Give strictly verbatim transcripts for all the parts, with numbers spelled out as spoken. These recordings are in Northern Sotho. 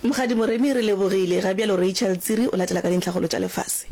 Mokgadi Moremi, re lebogile. Ga bjalo Rachel Tsiri o latela ka dintlhakgolo tša lefase.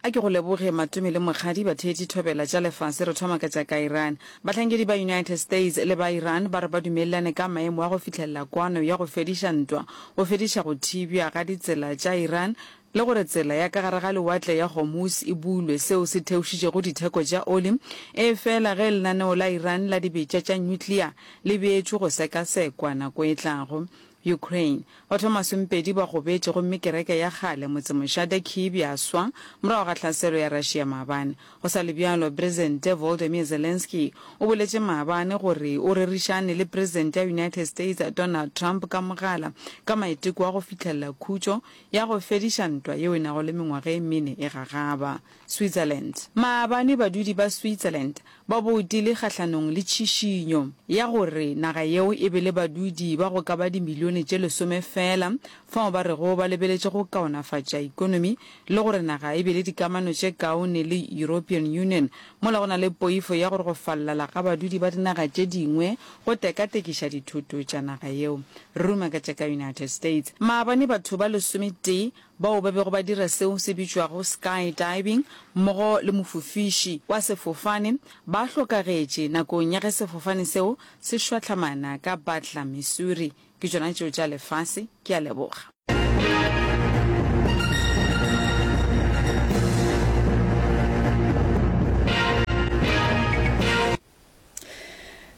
A ke go leboge Matome le Mokgadi, batheetši thobela tša lefase. Re thoma ka tša ka Iran. Bahlankedi ba United States le ba Iran ba re ba dumelelane ka maemo a go fihlelela kwano ya go fediša ntwa, go fediša go thibja ga ditsela tša Iran le gore tsela ya ka gare ga lewatle ya Hormuz e bulwe, seo se theošitšego ditheko tša oli, efela ge lenaneo la Iran la dibetša tša nyuklea le beetšwe go sekasekwa nako e tlago. Ukraine, Batho ba masomepedi ba gobetše gomme kereke ya kgale motsemošate Kyiv ya swa morago ga tlhaselo ya Russia maabane. Go sa le bjalo, Presente Volodymyr Zelenskyy o boletše maabane gore o rerišane le Presente ya United States Donald Trump ka mogala ka maiteko a go fihlelela khutšo ya go fediša ntwa yeo e nago le mengwaga e mene e gagaba. Switzerland. Maabane badudi ba Switzerland ba boutile kgahlanong le tšhišinyo ya gore naga yeo e be le badudi ba go ka ba dimilione tše lesome feela, fao ba rego ba lebeletše go kaonafatša ekonomi le gore naga e be le dikamano tše kaone le European Union, mola go na le poifo ya gore go fallala ga badudi ba dinaga tše dingwe go tekatekiša dithoto tša naga yeo. Ruma ka tša ka United States. Maabane batho ba lesometee bao ba bego ba dira seo se bitšwago skydiving mmogo le mofofiši wa sefofane ba hlokagetše nakong ya ge sefofane seo se šwahlamana ka Butler, Missouri. Ke tšona tšeo tša lefase. Ke a leboga.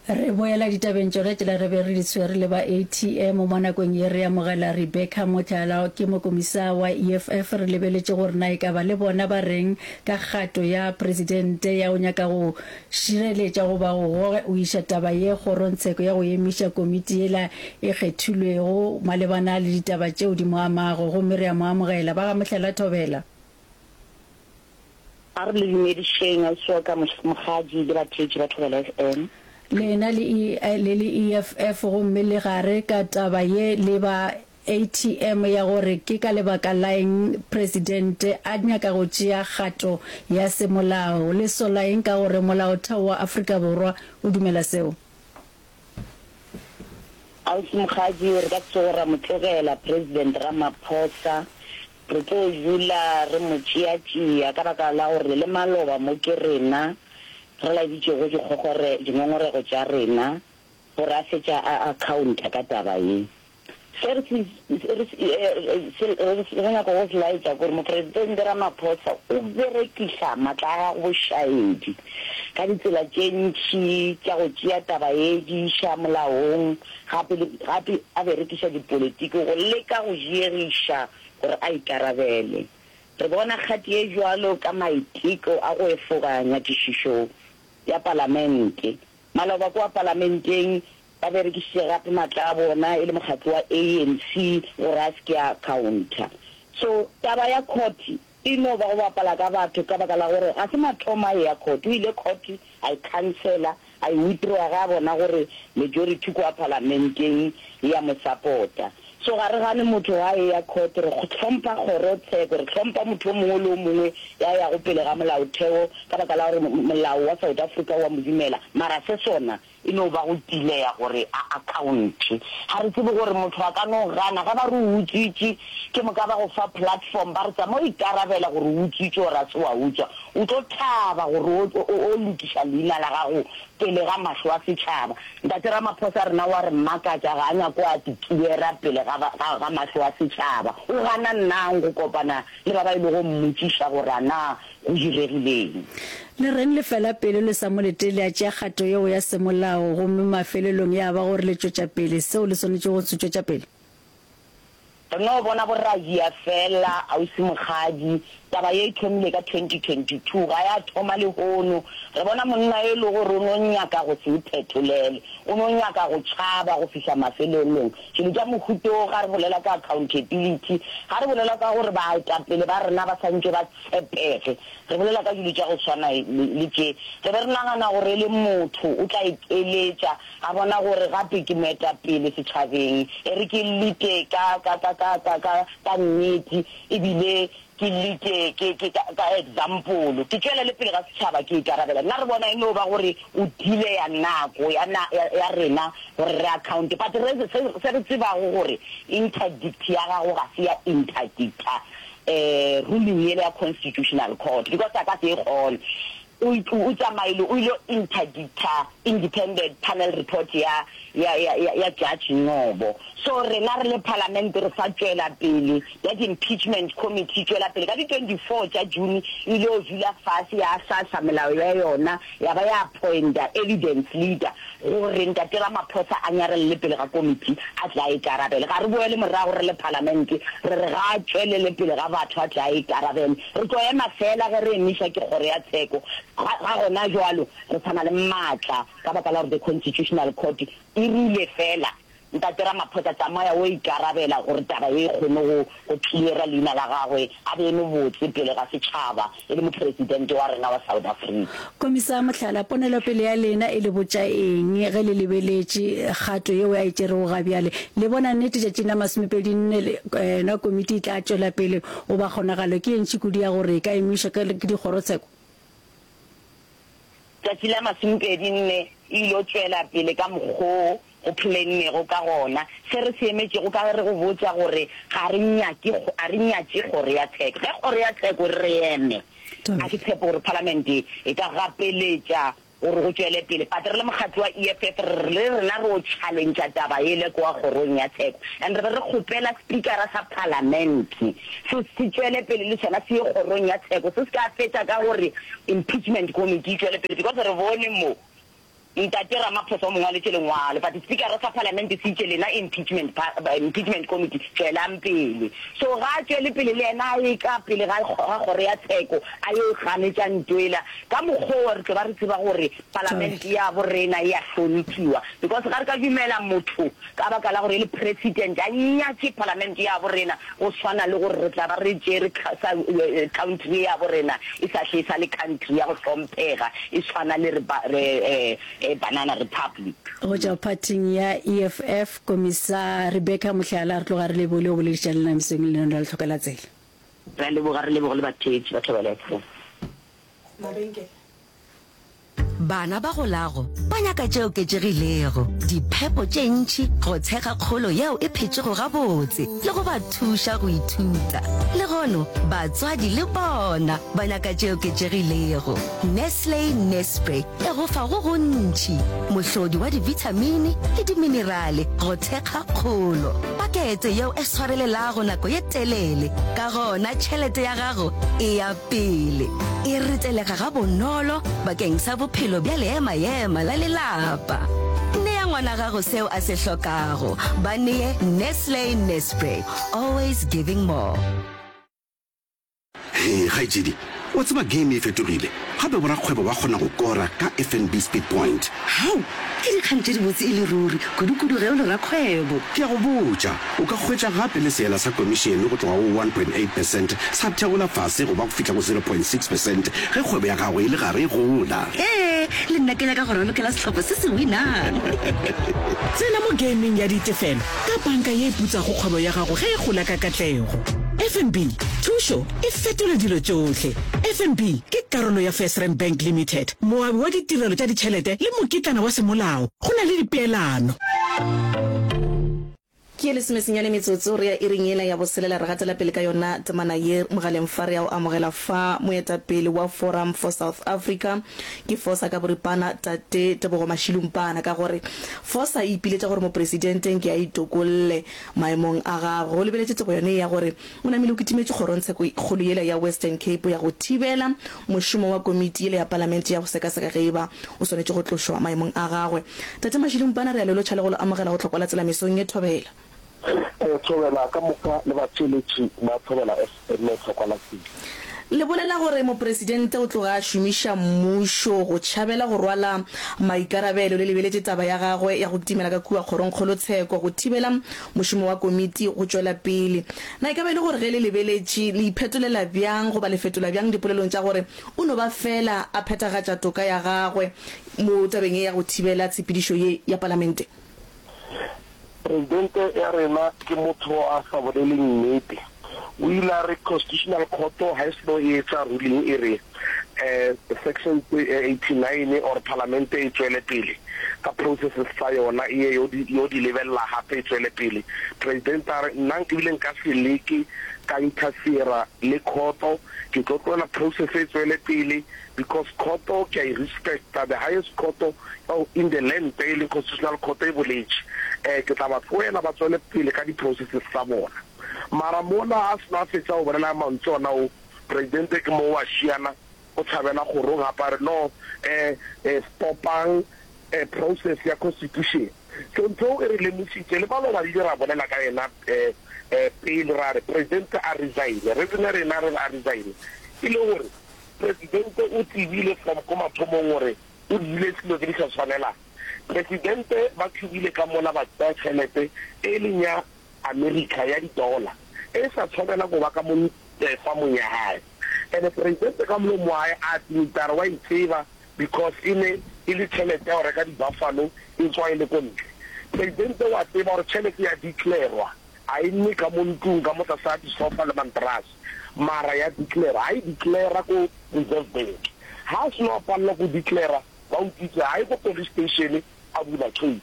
Re boela ditabeng tšona tšela re be re di tshwere le ba A T M. Mo nakong ye re amogela Rebecca Motlala, ke mokomisa wa E F F. Re lebeletše gore na e ka ba le bona ba reng ka kgato ya presidente ya go nyaka go šireletša goba go go iša taba ye kgorongtsheko ya go emiša komiti yela e kgethilwego malebana le ditaba tšeo di mo amago. Gomme re a mo amogela. Ba ga Mohlala Thobela. A re le dumedišeng ausi wa ka Mokgadi le batheetši ba Thobela F M. Lena le E, le le E F F gomme le gare ka taba ye le ba A T M ya gore ke ka lebaka la eng Presidente a nyaka go tšea kgato ya semolao. Le sola eng ka gore Molaotheo wa Afrika Borwa o dumela seo? Ausi Mokgadi, re ka se tsoge ra mo tlogela President Ramaphosa. Re tlo dula re mo tšeatšea ka baka la gore le maloba mo ke rena re laeditšego dikgogore, dingongorego tša rena gore a fetša a accounta ka taba ye. Se re se, re se, se, re nyaka go se laetša ke gore Mopresidente Ramaphosa o berekiša matla a gagwe bošaedi ka ditsela tše ntši tša go tšea taba ye di iša molaong, gape le, gape a berekiša dipolitiki go leka go diegiša gore a ikarabele. Re bona kgati ye bjalo ka maiteko a go efoga nyakišišo ya palamente. Maloba kua palamenteng ba berekišitše gape matla a bona e le mokgatlo wa A N C gore a se ke a accounta. So taba ya court e no ba go bapala ka batho ka baka la gore ga se mathomo a eya court. O ile court a e cancela, a e withdrawa ge a bona gore majority kua palamenteng e a mo support-a. So ga re gane motho ga a eya court, re hlompha kgorotsheko, re hlompha motho o mongwe le o mongwe ya yago pele ga molaotheo ka baka la gore molao wa South Africa o a mo dumela, mara se sona e no ba go tileya gore a accounte. Ga re tsebe gore motho a ka no gana ge ba re o utswitše, ke moka ba go fa platform ba re tsamaya o ikarabela gore o utswitše or a se wa utswa, o tlo thaba gore o, o, o lokiša leina la gago pele ga mahlo a setšhaba. Ntate Ramaphosa rena wa re makatša, ga a nyako a tikiera pele ga, ga, ga mahlo a setšhaba. O gana nnang go kopana le ba ba ilego mmotšiša gore a na go diregileng. Le reng le fela pelo le sa mo letele a tšea kgato yeo ya semolao gomme mafelelong ya ba gore le tšwetša pele seo le swanetšego go se tšwetša pele? Re no bona boradia fela, ausi Mokgadi. Taba ye e thomile ka twenty twenty-two, ga ya thoma lehono. Re bona monna e le gore o no nyaka go se iphetolele, o no nyaka go tšhaba go fihla mafelelong. Dilo tša mohuta wo, ga re bolela ka accountability, ga re bolela ka gore baetapele ba rena ba santše ba tshepege, re bolela ka dilo tša go swana le tše. Re be re nagana gore e le motho o tla ekeletša, a bona gore gape ke moetapele setšhabeng, e re ke lete ka, ka, ka, ka, ka, ka, ka nnete, ebile ke leke ke ke ka ka example ke tšwelele pele ga setšhaba ke ikarabela. Nna re bona e no ba gore o delaya nako ya na ya ya rena gore re account but re se se re tsebago gore interdict ya gago ga se ya interdicta eh ruling yela ya constitutional court because a ka se e kgone. O o tsamaile o ile interdicta independent panel report ya ya ya ya Judge Ngcobo. So rena re le Parliament re sa tšwela pele, that impeachment committee e tšwela pele. Ka di twenty four tša June e ile yo dula fase ya ahlahla melao ya yona ya ba ya appointa evidence leader gore Ntate Ramaphosa a nyarelele pele ga committee a tle a ikarabele. Ga re boele morago re le Parliament re re ga a tšwelele pele ga batho a tle a ikarabele. Re tlo ema feela ge re emišwa ke kgoro ya tsheko. Ga, ga gona bjalo re sa na le maatla ka baka la gore the Constitutional Court e rile feela, Ntate Ramaphosa tsamaya o ikarabela gore taba ye e kgone go, go cleara leina la gagwe, a be eme botse pele ga setšhaba e le Mopresidente wa rena wa South Africa. Komisa, Mohlala, ponelopele ya lena e le botša eng ge le lebeletše kgato yeo a e tšerego ga bjale? Le bona nnete tšatšing la masomepedi nne le na komiti e tla tšwela pele goba kgonagalo ke ye ntši kudu ya gore e ka emišwa ke dikgorotsheko? Tšatši la masomepedi nne e ilo tšwela pele ka mokgo go phllennego ka gona. Se re se emetšego ka ge re go botša gore ga re nyake, ga re nyatše kgoro ya tsheko. Ge kgoro ya tsheko e re re eme, ga ke tshepe gore Palamente e ka gapeletša gore go tšwele pele. But re le mokgatlo wa E F F re re le rena re o challengea taba yele kwa kgorong ya tsheko and re be re kgopela Speakera sa Palamente se se tšwele pele le sona se ye kgorong ya tsheko se se ka fetša ka gore impeachment committee e tšwele pele because re bone mo Ntate Ramaphosa o mo ngwaletše lengwalo but Speakera sa Palamente se itše lena impeachment impeachment committee tšwelang pele so ga a tšwele pele le yena a ye ka pele ga ga kgoro ya tsheko a yo ganetša ntwela Ka mokgwa wo re tlo ba re tseba gore palamente ya bo rena e a hlomphiwa because ga re ka dumela motho ka baka la gore e le president a nyatše palamente ya bo rena go swana le gore re tla ba re tšere country ye ya bo rena e sa hle e sa le country ya go hlomphega e swana le banana republic. Go tšwa phathing ya E F F, Komisa Rebecca Mohlala, re tloga re lebogile go boledišana le lena mesong e lenaneo la Lehloka la Tsela. Re a leboga, re leboge le batheetši ba Thobela F M. Mabenkele. Bana ba golago ba nyaka tše oketšegilego, diphepo tše ntši go thekga kgolo yeo e phetšego gabotse le go ba thuša go ithuta. Lehono, batswadi le bona ba nyaka tše oketšegilego. Nestle Nespre e go fa go gontši, mohlodi wa dibithamini le diminerale go thekga kgolo. Pakete yeo e swarelelago nako ye telele, ka gona tšhelete ya gago e ya pele e retelega gabonolo bakeng sa bophelo bja leema-ema la lelapa. Nea ngwana gago seo a se hlokago. Ba nee Nestle Nespre, always giving more. Hee kgaetšedi, wa tseba game e fetogile, gape borakgwebo ba kgona go kora ka F N B Speed Point. Hao! Ke dikgang tše dibotse e le ruri, kudu-kudu ge o le rakgwebo. Ke a go botša, o ka hwetša gape le seela sa komišene go tloga go one point eight percent sa theola fase go ba go fihla go zero point six percent ge kgwebo ya gago e le gare e gola. Ee, le nna ke nyaka go ralokela sehlopha se se winang. Tsena mo gameng ya ditefelo ka banka ye e putsago kgwebo ya gago ge e gola ka katlego. F N B, thušo e fetola dilo tšohle. F N B ke karolo ya FirstRand Bank Limited, moabi wa ditirelo tša ditšhelete le mokitlana wa semolao. Go na le dipeelano. Ke ye lesomesenyane metsotso re ya iring yela ya boselela re gatela pele ka yona temana ye mogaleng fa re ya o amogela fa moetapele wa Forum for South Africa ke FOSA ka boripana Tate Tebogo Mashilumpana ka gore FOSA e ipiletša gore mopresidente nke a itokolle maemong a gagwe go lebeletše tsebo yone ya gore o namile o kitimetše kgorongtsheko kgolo yela ya Western Cape ya go thibela mošomo wa komiti yela ya palamente ya go sekaseka ge eba o swanetše go tlošwa maemong a gagwe. Tate Mashilumpana re a le lotšha le go le amogela go Tlhokwa la Tsela mesong ye Thobela. Thobela ka moka le batheeletši ba Thobela F M Tlhokwa la Tsela. Le bolela gore mopresidente o tloga a šomiša mmušo go tšhabela go rwala maikarabelo le lebeletše taba ya gagwe ya go kitimela ka kua kgorongkgolotsheko go thibela mošomo wa komiti go tšwela pele. Na e ka ba e le gore ge le lebeletše le iphetolela bjang goba le fetola bjang dipolelong tša gore o no ba feela a phethagatša toka ya gagwe mo tabeng ye ya go thibela tshepedišo ye ya palamente? Presidente ya rena ke motho a sa boleleng nnete. O ile a re Constitutional Court ha e seno e etsa ruling e re section eighty nine or Palamente e tšwele pele ka processes tsa yona e ye yo di yo di lebelela gape e tšwele pele. Presidente a re nna ebile nka se leke ka interfere le khoto, ke tlo tlohela process e tšwele pele because khoto ke a e respecta, the highest court in the land e leng Constitutional Court e boletše, ke tla ba tlohela ba tšwele pele ka di processes tsa bona. Mara mola a seno a fetša go bolela mantšu ona o, Presidente ke mo o a šiana, o tšhabela kgorong gape a re, No, eh, eh, stopang eh, process ya Constitution. So ntho eo e re lemositše, le maloba re ile ra bolela ka yena eh, eh, pele ra re Presidente a resign. Reason ya rena re re a resign e le gore Presidente o tsebile from ko mathomong gore o dirile selo tse di sa tshwanelang. Presidente ba thubile ka mola ba tsaya tšhelete e leng ya America ya di dollar e sa tshwanela go ba ka mo farmong ya hae. Ene Presidente ka molomo wa hae a admita a re wa e tseba because e ne e le tšhelete ya go reka di buffalo e tswa e le ko ntle. Presidente wa tseba gore tšhelete ya declarwa a e nne ka mo ntlong ka mo tlase ga di sofa le mantrase mara ya declara. Ha e declara ko Reserve Bank. Ha a seno a palelwa ko declara ba utswitse ha ye ko police station a bula case.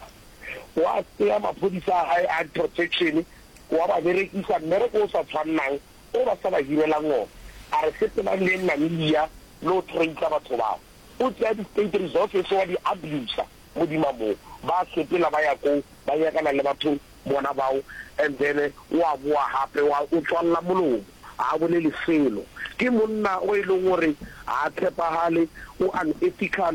Wa tsea maphodisa a hae a protection wa ba berekisa mmereko o sa tshwannang o ba sa ba hirelang ona. A re sepelang le yeng Namibia le o tracer batho bao. O tsea di state resources wa di abuser modima moo. Ba sepela ba ya koo ba nyakana le batho bona bao and then wa boa gape wa o tswalla molomo ga a bolele selo. Ke monna o e leng gore ga a tshepagale, o unethical.